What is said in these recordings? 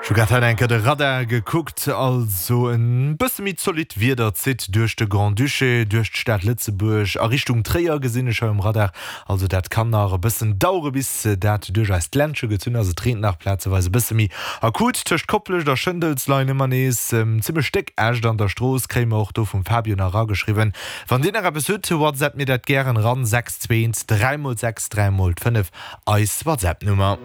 Ech hu grad hei eng Kéier de Radar gekuckt, also en bësse méi zolidd Wieder zitt duerch de Grand-Duché, duerch d'Stad Lëtzebuerg a Richtung Tréier gesinn ech hei um Radar. Also dat kann nach e bëssen dauere bis dat duerch eist Ländche gezunn ass. Et reent nach plazeweis e bësse méi akut. Tëscht Koplescht a Schëndels leien ëmmer nees zimmlech déck Äscht an der Strooss, kréie mer och do vum Fabio nach erageschriwwen. Wann Dir nach eppes hutt, WhatsApp mir dat gären eran, 6 2 1 3 mol 6 3 mol 5, eis WhatsApp-Nummer.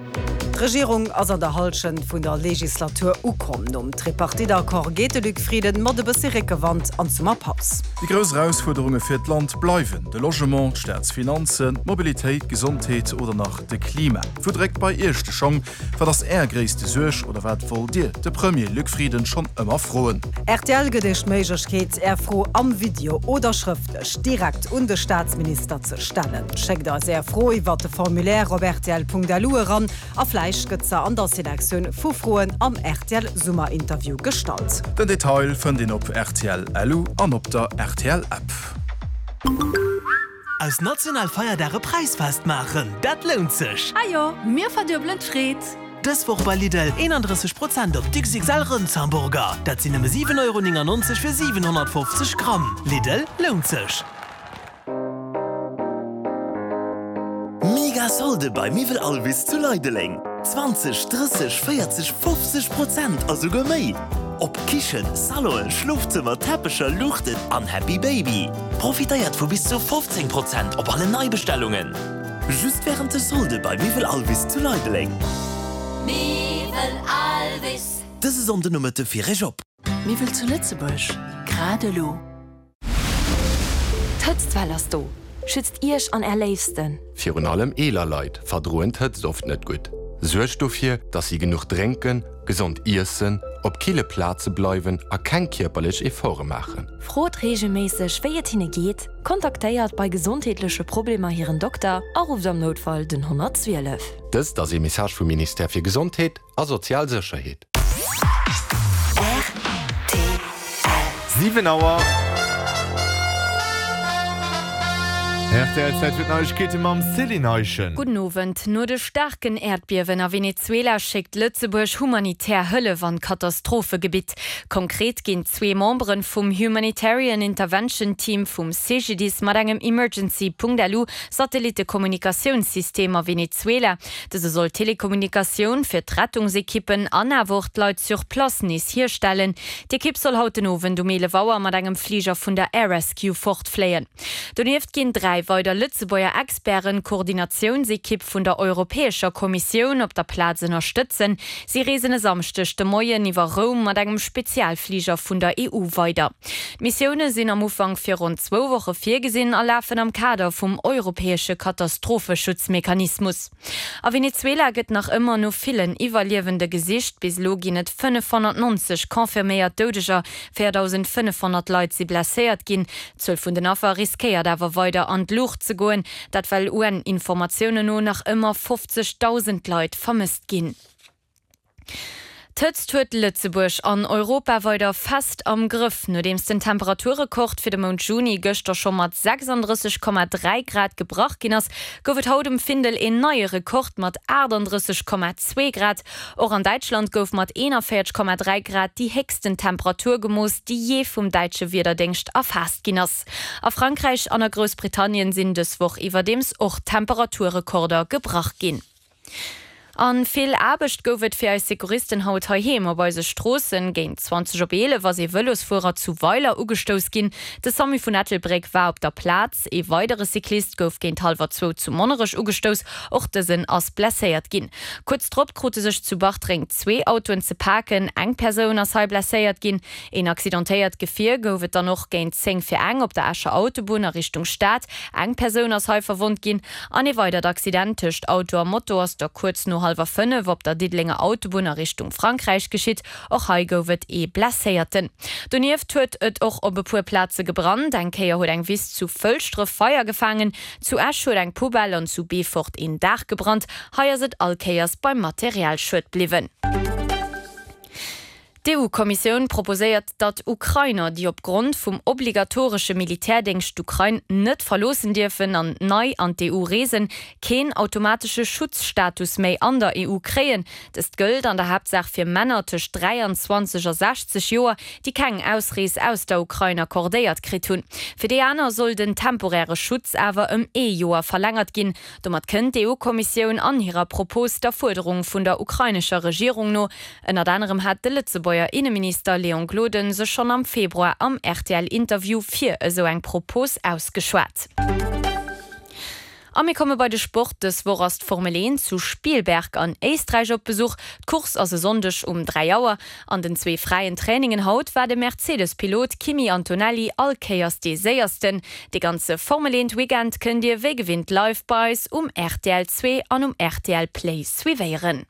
D'Regierung ass an der Hallschent vun der Legislatur ukomm. Nom Tripartite-Accord geet de Luc Frieden mat e bëssi Réckewand an d'Summerpaus. Déi grouss Erausfuerderunge fir d'Land bleiwen de Logement, d'Staatsfinanzen, d'Mobilitéit, d'Gesondheet oder nach de Klima. Wou dréckt bei Iech de Schong? Wat ass Är gréisste Suerg oder wat wollt Dir de Premier Luc Frieden schonn ëmmer froen? Rtl gëtt Iech d'Méiglechkeet, Är Fro am Video oder schrëftlech direkt un de Staatsminister ze stellen. Schéckt eis Är Fro iwwert de Formulaire op rtl.lu eran a vläicht gëtt se an der Selektioun vu Froen am rtl Summerinterview gestallt. Den Detail fënnt een op rtl.lu an op der rtl App. Aus national Feierdag e Präisfest maachen, dat lount sech! Ah jo, mir verduebelen d'Freed! Dës Woch bei Lidl 31 Prozent op d'XXL Rëndshamburger, dat sinn nëmme 7,99 Euro fir 750 Gramm. Lidl, lount sech! Mega Solde bei Miwwel Alvis zu Leideleng! 20, 30, 40, 50 Prozent a souguer méi! Op Kichen, Salonen, Schlofzëmmer, Teppecher, Luuchten an Happy Baby. Profitéiert vu bis zu 15 Prozent op allen Neibestellungen! Just wärend de Solde bei Miwwel Alvis zu Leideleng. Miwwel Alvis. Dëse Sonndenomëtte fir Iech op. Miwwel zu Lëtzebuerg, grad elo. D'Hëtztwell ass do! Schützt Iech an Är Léifsten! Virun allem eeler Leit verdroen d'Hëtzt oft net gutt. Suergt dofir, dass si genuch drénken, gesond iessen, op kille Plaze bleiwen a keng kierperlech Efforte maachen. Frot reegelméisseg, wéi et hinne geet, kontaktéiert bei gesondheetleche Problemer hiren Dokter a rufft am Noutfall den 112. Dëst ass ee Message vum Ministère fir Gesondheet a sozial Sécherheet. Rtl. 7 Auer. Rtl Zäit fir d'Neiegkeete mam Céline Eischen. Gudden Owend. No de staarken Äerdbiewen a Venezuela schéckt Lëtzebuerg humanitär Hëllef an d'Katastrophegebitt. Konkret ginn zwee Membere vum Humanitarian Intervention Team vum CGDIS mat engem Emergency.lu Satellittekommunikatiounssystem a Venezuela. Dëse soll d'Telekommunikatioun fir d'Rettungsekippen an awer och d'Leit sur place nees hierstellen. D'Ekipp soll haut den Owend um 11 Auer mat engem Fliger vun der Air Rescue fortfléien. Donieft ginn 3 weider Lëtzebuerger Experten d'Koordinatiounsekipp vun der Europäescher Kommissioun op der Plaz ënnerstëtzen. Si reesen e Samschdeg de Moien iwwer Roum mat engem Spezialfliger vun der EU weider. D'Missioune sinn am Ufank fir ronn zwou Woche virgesinn a lafen am Kader vum europäesche Katastropheschutzmechanismus. A Venezuela gëtt nach ëmmer no villen Iwwerliewende gesicht. Bis elo ginn et 590 confirméiert Doudeger, 4.500 Leit si blesséiert ginn. D'Zuel vun den Affer riskéiert awer weider an d'Luucht ze goen, dat well UN-Informatiounen no nach ëmmer 50.000 Leit vermësst ginn. D'Hëtzt huet Lëtzebuerg an Europa weider fest am Grëff. Nodeems den Temperaturrekord fir de Mount Juni gëschter scho mat 36,3 Grad gebrach ginn ass, gouf et haut um Findel een neie Rekord mat 38,2 Grad. Och an Däitschland gouf mat 41,3 Grad déi héchsten Temperatur gemooss, déi jee vum däitsche Wiederdéngscht erfaasst ginn ass. A Frankräich an a Groussbritannien sinn dës Woch iwwerdeems och Temperaturrekorder gebrach ginn. An vill Aarbecht gouf et fir eis Sekuristen haut heiheem op eise Stroossen. Géint 20 op 11 ass ee Vëlosfuerer zu Weiler ugestouss ginn. De Samu vun Ettelbréck war op der Plaz. Ee weidere Cyclist gouf géint hallwer zwou zu Monnerech ugestouss. Och dësen ass blesséiert ginn. Kuerz drop krute sech zu Bartreng zwee Autoen ze paken. Eng Persoun ass hei blesséiert ginn. Een accidentéiert Gefier gouf et dann och géint 10 vir eng op der Escher Autobunn a Richtung Stad. Eng Persoun ass hei verwonnt ginn. An ee weidert Accident tëscht Auto a Moto ass da kuerz no hallwer 5 op der Diddelenger Autobunn a Richtung Frankräich geschitt. Och hei gouf et ee Blesséierten. Donieft huet et och op e puer Plaze gebrannt. Eng Kéier huet eng Wiss zu Fëlschdref Feier gefaangen, zu Esch huet eng Poubelle an zu Beefort een Daach gebrannt. Hei ass et all Kéiers beim Materialschued bliwwen. D'EU-Kommissioun proposéiert, datt Ukrainer, déi op Grond vum obligatoresche Militärdéngscht d'Ukrain net verloossen dierfen an nei an d'EU reesen, keen automatesche Schutzstatus méi an der EU kréien. Dëst gëllt an der Haaptsaach fir Männer tëscht 23 a 60 Joer, déi keng Ausrees aus der Ukrain accordéiert kritt hunn. Fir déi aner soll den temporäre Schutz awer ëm ee Joer verlängert ginn. Domat kënnt d'EU-Kommissioun an hirer Propos der Fuerderung vun der ukrainescher Regierung no. Ënnert anerem hat de Lëtzebuerger Inneminister Léon Gloden sech schonn am Februar am RTL-Interview fir esou eng Propos ausgeschwat. A mir komme bei de Sport. Dës Woch ass d'Formel 1 zu Spielberg an Éisträich op Besuch. D'Course ass e Sonndeg um 3 Auer. An den zwee fräien Trainingen haut war de Mercedes-Pilot Kimi Antonelli all Kéiers dee Séiersten. Dee ganze Formel 1 Weekend kënnt Dir wéi gewinnt live bei eis um rtl 2 an um rtl Play suivéieren.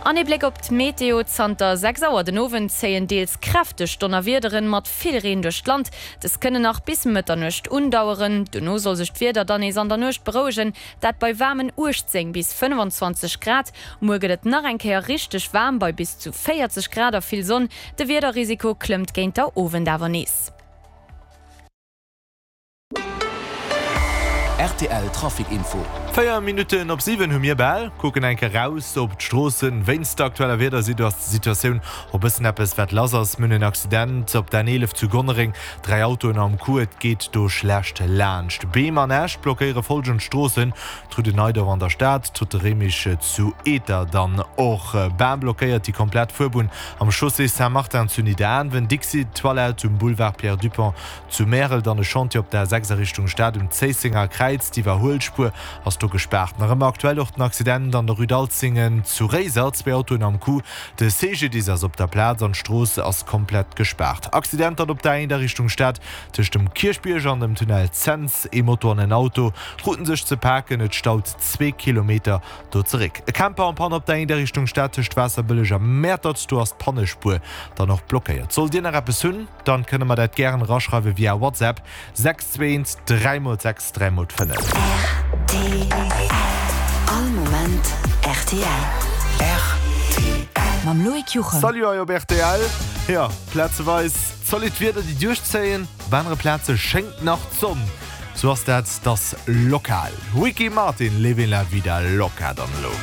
An ee Bléck op d'Meteo, Zanter 6 Auer den Owend zéien deels kräfteg Donnerwiederen mat vill Reen duerch d'Land. Dës kënnen nach bis Mëtternuecht undaueren. Dono soll sech d'Wieder dann nees an der Nuecht berouegen, dat bei waarmen 18 bis 25 Grad. Muer gëtt et nach eng Kéier richteg waarm bei bis zu 40 Grad a vill Sonn. De Wiederrisiko klëmmt géint der Owend awer nees. Rtl Trafic Info. 4 Minutten op 7 hu mir bal. Kucken eng Kéier raus op d'Stroossen. Wéinst der aktueller Wiedersituatioun och bëssen eppes wat lass ass. Mir hunn en Accident op der N11 zu Gonnereng. 3 Autoen am Coup, et geet do schlecht laanscht. Beem an Äscht blockéiere folgend Stroossen, D'Rue de Neidorf an der Stad, d'Route de Remich zu Eter, dann och Bam blockéiert déi komplett Fuerbunn am Chaussée Saint-Martin zu Nidderaanwen, Dixi Toilette um Boulevard Pierre Dupong zu Märel, dann e Chantier op der A6 a Richtung Stad um Zéissenger Kräiz, d'Iwwerhuelspuer ass do gespaart. Nach ëmmer aktuell och den Accident an der Rue d'Alzingen zu Réiser, zwee Autoen am Coup, de CGDIS ass op der Plaz an d'Strooss ass komplett gespaart. Accident dann op der A1 a Richtung Stad Tëscht dem Kierchbierg an dem Tunnel Cents, ee Moto an en Auto kruten sech ze paken, et staut zwee Kilometer do zeréck. E Camper en panne op der Éinder Richtung Stad tëscht Waasserbëlleg a Mäertert, do ass d'Pannespuer dann och blockéiert. Sollt Dir nach eppes hunn, dann kënne mer dat gären eraschreiwe via WhatsApp 6 2 1 3 x 6 3 x 5. Rtl All Moment rtl. Rtl. Mam Loïc Juchem. Salut hei op rtl. Jo, plazeweis Zolidd Wieder déi duerchzéien, op anere Plaze schéngt nach d'Sonn. Sou ass dat, t'ass lokal. Ricky Martin, Livin' la vida loca dann elo.